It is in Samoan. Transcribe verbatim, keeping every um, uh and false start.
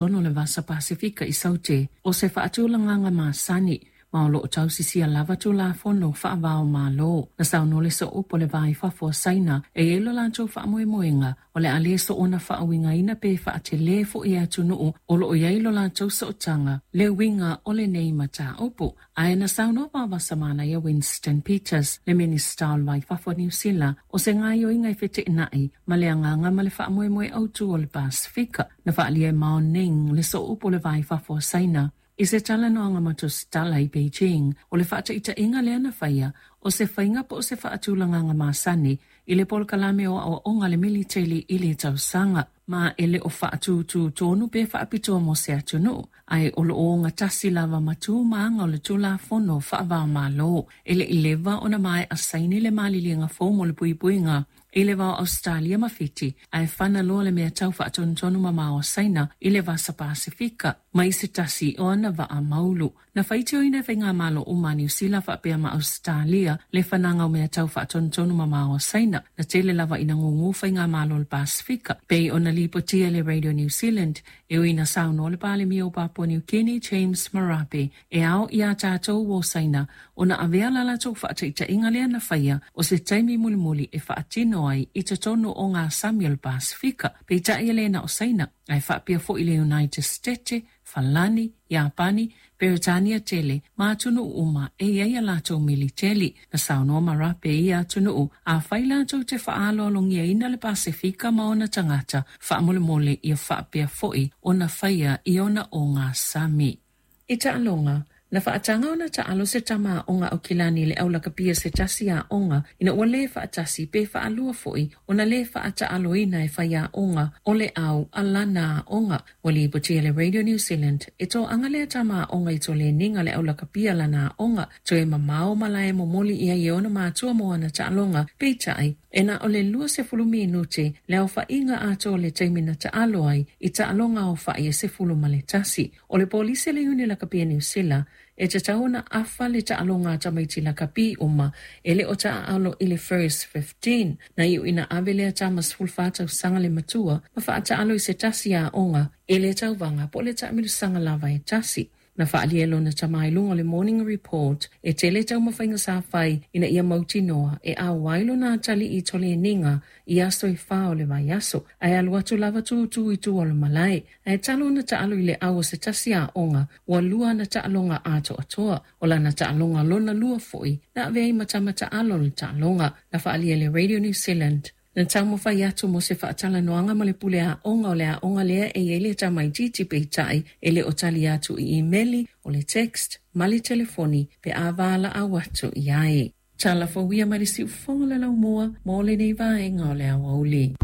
Totonu o le Vasa Pasefika i Saute, o se faatulagaga masani, ma o lo o tausisia lava Tulafono faava-o-Malo. Na saunoa le sooupu o le Va i Fafo a Saina e i ai lo latou faamoemoega o le a le soona faauigaina pe faatelē foi e atunuu o lo o i ai lo latou sootaga le uiga o lenei mataupu. Ae na saunoa vavasamanaia Winston Peters, le Minisita o le Va i Fafo a Niu Sila, o se gaoioiga e feteenai ma le agaga ma le faamoemoe autu o le Pasefika. Na faaalia e Mao Ning, le sooupu o le Va i Fafo a Saina, i se talanoaga ma tusitala i Beijing, o le faataitaiga lea na faia o se faiga po o se faatulagaga masani i le polokalame o aoaoga a le militeli i le tausaga, ma e le o faatutū tonu pe faapitoa mo se atunuu, ae o lo o ogatasi lava ma tu ma aga o le Tulafono faava-o-Malo. E le i leva ona maea saini le maliliega fou mo le puipuiga i le va o Ausetalia ma Fiti, ae fana loa le mea tau faatonutonu mamao a Saina i le Vasa Pasefika mai se tasi o ana vaa maulu. Na faitioina e faigamalo uma a Niu Sila faapea ma Ausetalia le fanaga o mea tau faatonutonu mamao a Saina. Na tele lava ina gugū faigamalo o le Pasefika pei ona lipotia e le Radio New Zealand, e ui ina saunoa le Palemia o Papua New Guinea James Marape e ao iā tatou o Saina ona avea la latou faataitaiga lea na faia o se taimi mulimuli e faatino ai i totonu o ngā sami o le Pasefika. Peitai e le na o Saina, ae faapea foi le United States, Falani, Iapani, Peretania tele ma atunuu uma e i ai a latou militeli. Na saunoa Marape i ia atunuu, afai latou te faaaloalogiaina le Pasefika ma ona tagata, faamolemole ia faapea foi ona faia i ona ogasami. I taaloga, na faataga ona taalo se tama aoga Aukilani i le aulakapia se tasi aoga ina ua lē faatasi pe faalua foi ona lē faataaloina e faiaoga o le au a lana aoga. Ua lipotia e le Radio New Zealand e toaga lea tama aoga i toleniga le aulakapia lana aoga toe mamao malae momoli i ai e ona matua mo ana taaloga. Peitai, e na o le luasefulu minute le aofaiga atoa o le taimi na taalo ai i taaloga aofai e sefulu ma le tasi. O le polisi a le Iuni Lakapi a Niu Sila e tatau ona afa le taaloga a tamaiti lakapi uma e le o taaalo i le First Fifteen. Na iu ina ave lea tama sefulufa tausaga le matua ma faataalo i se tasi aoga i le tauvaga po o le taamilosaga lava e tasi. Na faaalia e lona tama i luga o le Morning Report e tele taumafaiga sa fai ina ia mautinoa e auai lona atalii i toleniga i aso e fa o le vaiaso, ae alu atu lava tutū i tua o le malae. Ae talu ona taalo i le au o se tasi aoga, ua lua ana taaloga atoatoa. O lana taaloga lona lua foi na avea ai ma tama taalo o le taaloga. Na faaalia e le Radio New Zealand. Na taumafai atu mo se faatalanoaga ma le pule aoga o le aoga lea e i ai le tamaitiiti, peitai e le o tali atu i imeli, o le text ma le telefoni pe a valaau atu i ai. Tala fou ia mai le siufofoga o le laumua mo lenei vaega o le aoauli.